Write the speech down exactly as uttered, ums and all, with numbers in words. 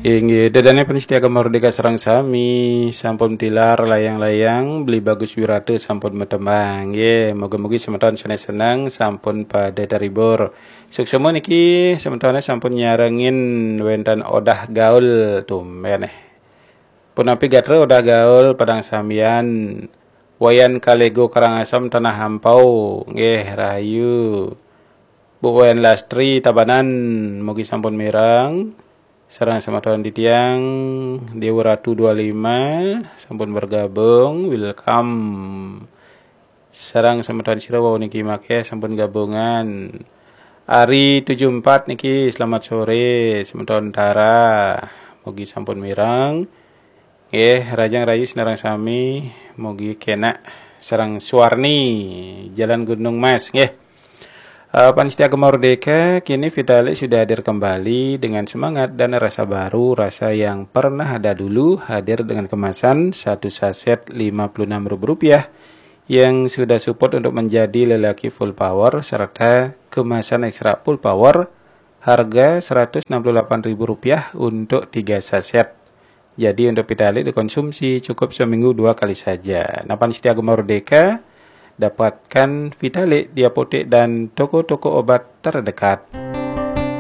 Inggih, ida dané pamiarsa Gema Merdeka sareng sami, sampun tilar layang-layang, Beli Bagus Wirata sampun matembang. Nggih, mugi-mugi semeton sané seneng sampun pada terhibur. Suksma niki semetoné sampun nyarengin wénten Odah Gaul, tumbén eh. Punapi gatra Odah Gaul, padang samian, Wayan Kalego Karangasem Tanah Ampau, nggih rahayu. Bu Wayan Lastri Tabanan, mugi sampun mireng. Sareng semeton titiang Dewa Ratu dua lima sampun bergabung, welcome. Sareng semeton sira wau niki makéh sampun gabungan. Ari tujuh empat niki, selamat sore semeton Tara. Mugi sampun mireng. Nggih, rahajeng rahayu sinareng sami, mugi kénak sareng Suwarni, Jalan Gunung Mas, nggih. Eh, pamiarsa Gema Merdeka, kini Vitalik sudah hadir kembali dengan semangat dan rasa baru, rasa yang pernah ada dulu, hadir dengan kemasan satu saset lima puluh enam ribu rupiah yang sudah support untuk menjadi lelaki full power serta kemasan ekstra full power harga seratus enam puluh delapan ribu rupiah untuk tiga saset. Jadi untuk Vitalik dikonsumsi cukup seminggu dua kali saja. Nah, pamiarsa Gema Merdeka, dapatkan Vitalik di apotek dan toko-toko obat terdekat.